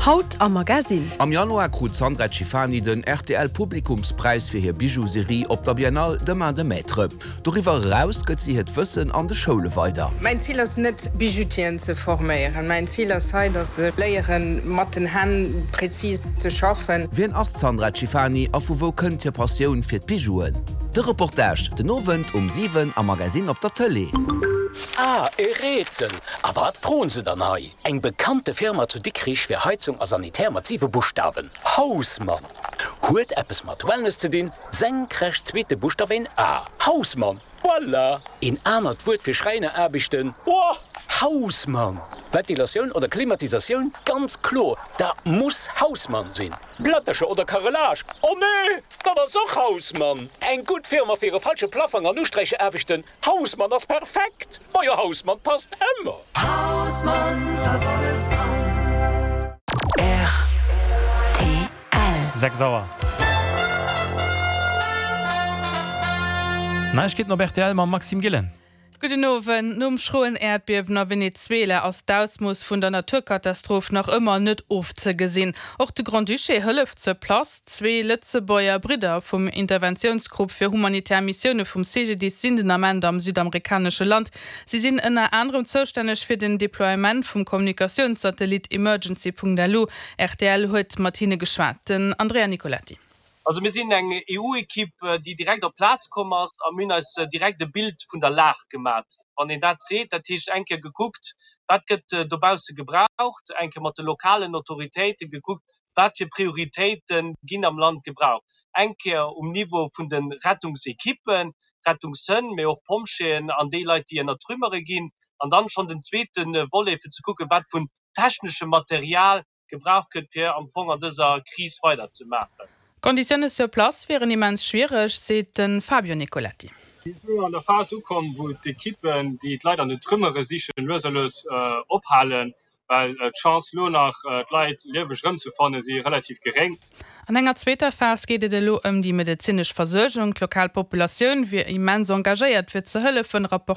Haut am Magasinn. Am Januar krut d'Sandra Cifani den rtl Publikumspräis fir hir Bijou-Serie op der Biennale de Main de Maître. Doriwwer eraus gëtt si hiert Wëssen an de Schoule weider. Mäin Zil ass net Bijoutieren ze forméieren. Mäin Zil ass hei, dass se léieren mat den Hänn präzis ze schaffen. Wien ass d'Sandra Cifani a vu wou kënnt hir Passioun fir d'Bijouen? De Reportage den Owend um 7 am Magasinn op der Tëlee. Ah, e Rätsel! A wat froen se dann hei? Eng bekannte Firma zu Dikrich fir Heizung a Sanitär mat 7 Buschtawen, Hausmann! Huet eppes mat Wellness ze dinn, senkrecht zweete Buschtaf een A, Hausmann! Voilà! Een anert Wuert fir Schräineraarbechten, Boah! Hausmann! Ventilatioun oder Klimatisatioun, ganz kloer, dat muss Hausmann sinn! Plättercher oder Carrelage, oh nee, dat ass och Hausmann! Eng gutt Firma fir e falsche Plaffang an Usträicheraarbechten, Hausmann ass perfekt! Majo Hausmann passt ëmmer! Hausmann, t'ass alles dran. Rtl. 6 Auer. Neiegkeeten op rtl mam Maxime Gillen. Gudden Owend. Nom schroen Äerdbiewen a Venezuela ass d'Ausmooss vun der Naturkatastroph nach ëmmer net ofzegesinn. Och de Grand-Duché hëlleft sur place. Zwee Lëtzebuerger Bridder vum Interventiounsgrupp fir humanitär Missioune vum CGDIS sinn den Ament am südamerikanesche Land. Si sinn ënner anerem zoustänneg fir den Deploiement vum Kommunikatiounssatellit Emergency.lu. Rtl huet mat hinne geschwat. Den Andrea Nicoletti. Also mir sinn eng EU-Ekipp, déi direkt op d'Plaz komm ass a mir hunn eis direkt e Bild vun der Lag gemat, wann een dat seet. Dat heescht eng Kéier gekuckt, wat gëtt dobausse gebraucht, eng Kéier mat de lokalen Autoritéite gekuckt, wat fir Prioritéite ginn am Land gebraucht, eng Kéier um Niveau vun de Rettungsekippen, Rettungshënn, mee och Pompjeeën an déi Leit, déi ënner d'Trümmere ginn, an dann schonn den zweete Volet, fir ze kucken, wat vun techneschem Material gebraucht gëtt, fir am Fong an dëser Kris weiderzemaachen. D'Konditioune sur place wieren immens schwiereg, seet de Fabio Nicoletti. Mir sinn elo an der Phas ukomm, wou d'Ekippen, déi d'Leit an den Trümmere sichen, lues a lues ophalen, well d'Chance lo nach d'Leit lieweg erëmzefanne si relativ geréng. An enger zweeter Phas geet et elo ëm déi medezinesch Versuergung. D'lokal Populatioun wier immens engagéiert fir ze hëllefen, rapportéiert.